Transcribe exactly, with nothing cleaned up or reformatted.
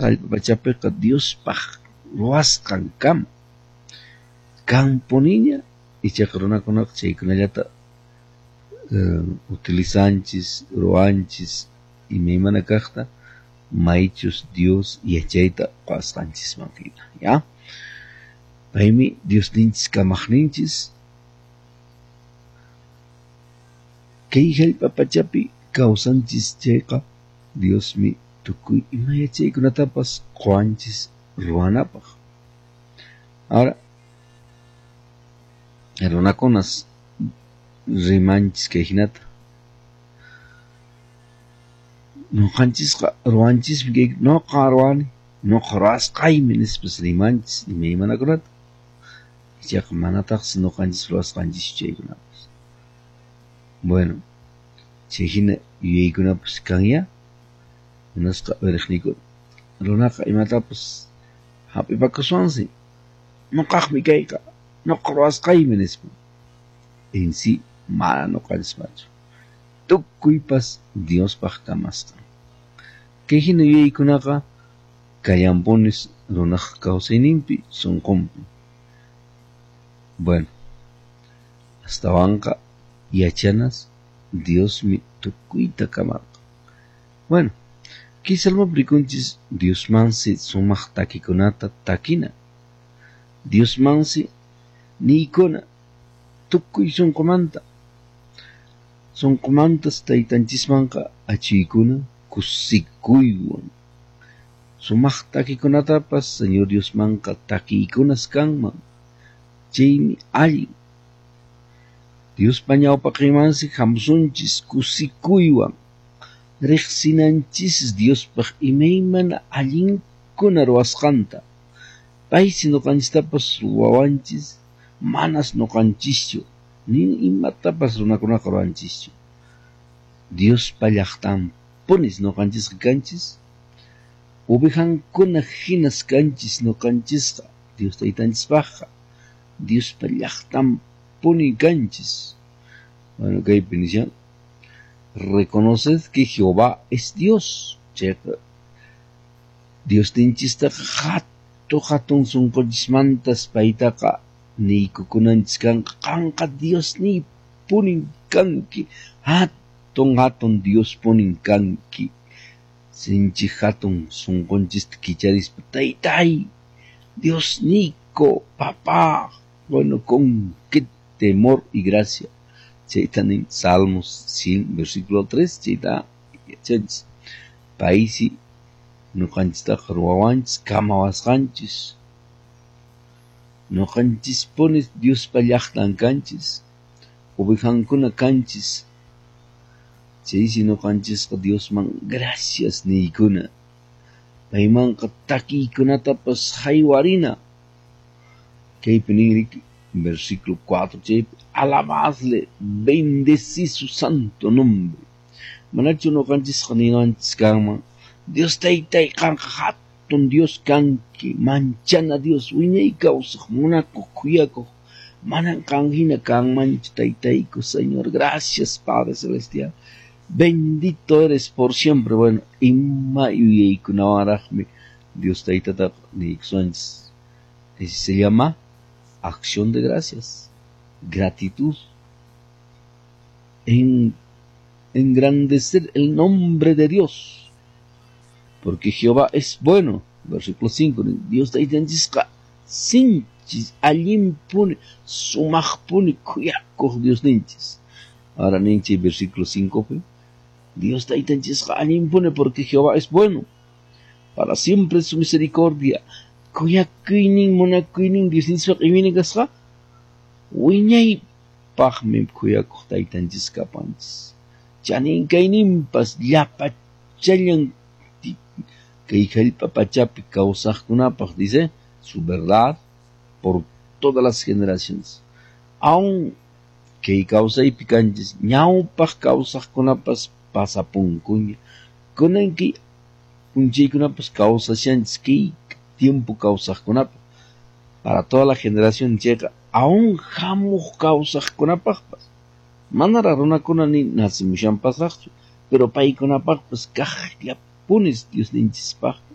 Hallp'a pachapiqa Diospaq ruwasqan kama kanpuniña, ichaqa runakunaqa chaykunallata utilizanchis, ruwanchis imaymana kaqta maychus Dios yachayta quwasqanchisman hina, ya? Paymi Diosninchis kamaqninchis kay hallp'a pachapi kawsanchis chayqa Diosmi tukuy ima yachaykunatapas quwanchis ruwanapaq. Ahora, runakunas rimanchis kay hinata. Nuqanchisqa ruwanchismi kay nuqa ruwani, nuqa ruwasqaymi nispas rimanchis imaymanakunata. Ichaqa manataqsi nuqanchis ruwasqanchischu chaykunapas. Bueno, chay hina yuyaykunapas kanya, munasqa uyariqniykuna. Runaqa imatapas hap'ipakuswansi, nuqaqmi kayqa, nuqa ruwasqaymi nispa. En sí, mana nuqanchispachu. Tukuypas Diospaq kamasqan. Kay hina yuyaykunaqa kallanpunis runaq kawsayninpi sunqunpi. Bueno, astawanqa yachanas Diosmi tukuyta kamarqan. Bueno, kay salmopi rikunchis Diosmansi sumaq takikunata takina. Diosmansi niykuna tukuy sunqumanta. Sunqumantas taytanchismanqa achiykuna kusikuywan. Sumaq takikunatapas Señor Diosmanqa takiykunas kanman. Chaymi allin. Diospa ñawpaqinmansi hamusunchis kusikuywan. Riqsinanchis Diospaq imaymana allinkuna ruwasqanta. Paysi nuqanchistapas ruwawanchis, manas nuqanchischu, ni imatapas runakunaqa ruwanchischu. Diospa llaqtanpunis nuqanchisqa kanchis, ovejankuna hinas kanchis nuqanchisqa, Dios taytanchispaqqa, Diospa llaqtanpuni kanchis. Bueno, kaypi nishan, reconoced que Jehová es Dios. Chayqa Diosninchistaqa hatun hatun sunqunchismantas paytaqa niykukunanchis kanqa, qanqa Diosniypunin kanki, hatun hatun Diospunin kanki. Sinchi hatun sunqunchista kicharispa, taytay, Diosniyku, papá, bueno, con qué temor y gracia. Chayta nin Salmos cien, versículo tres, chayta yachanchis. Paysi nuqanchistaqa ruwawanchis, kamawasqanchis. Nuqanchispunis Diospa llaqtan kanchis, ovejankuna kanchis. Chaysi nuqanchisqa Diosman gracias niykuna. Paymanqa takiykunatapas haywarina. Kaypi nin versículo cuatro, chaypi, alabadle, bendecid su santo nombre. Manachu nuqanchisqa ninanchis kanman, Dios taytay qanqa hatun Dios kanki, manchana Dios, wiñay kawsaq, munakuq, khuyakuq, manan qan hina kanmanchu taytayku, Señor, gracias Padre Celestial. Bendito eres por siempre. Bueno, ima yuyaykunawanraqmi Dios taytataqa niykusunchis. Ese se llama acción de gracias, gratitud, en engrandecer el nombre de Dios, porque Jehová es bueno. Versículo cinco, Dios taytanchisqa sinchis, allinpuni, sumaqpuni, khuyakuq Diosninchis. Ahora ninchi versículo cinco, Dios taytanchisqa allinpuni porque Jehová es bueno, para siempre su misericordia. Khuyakuynin, munakuynin Diosninchispaq imayna kasqa, wiñaypaqmi khuyakuq taytanchis kapanchis. Chanin kayninpas llapachallan kay hallp'a pachapi kawsaqkunapaq, dice, su verdad por todas las generaciones. Aun kay kawsaypi kanchis, ñawpaq kawsaqkunapas pasapunkuña. Kunan kay p'unchaykunapas kawsashanchis kay tiempo kawsaqkunapaq, para toda la generación chayqa, aun hamuq kawsaqkunapaqpas. Manaraq runakuna ni nacimushanpasraqchu, pero paykunapaqpas kaqllapunis Diosninchispaqqa.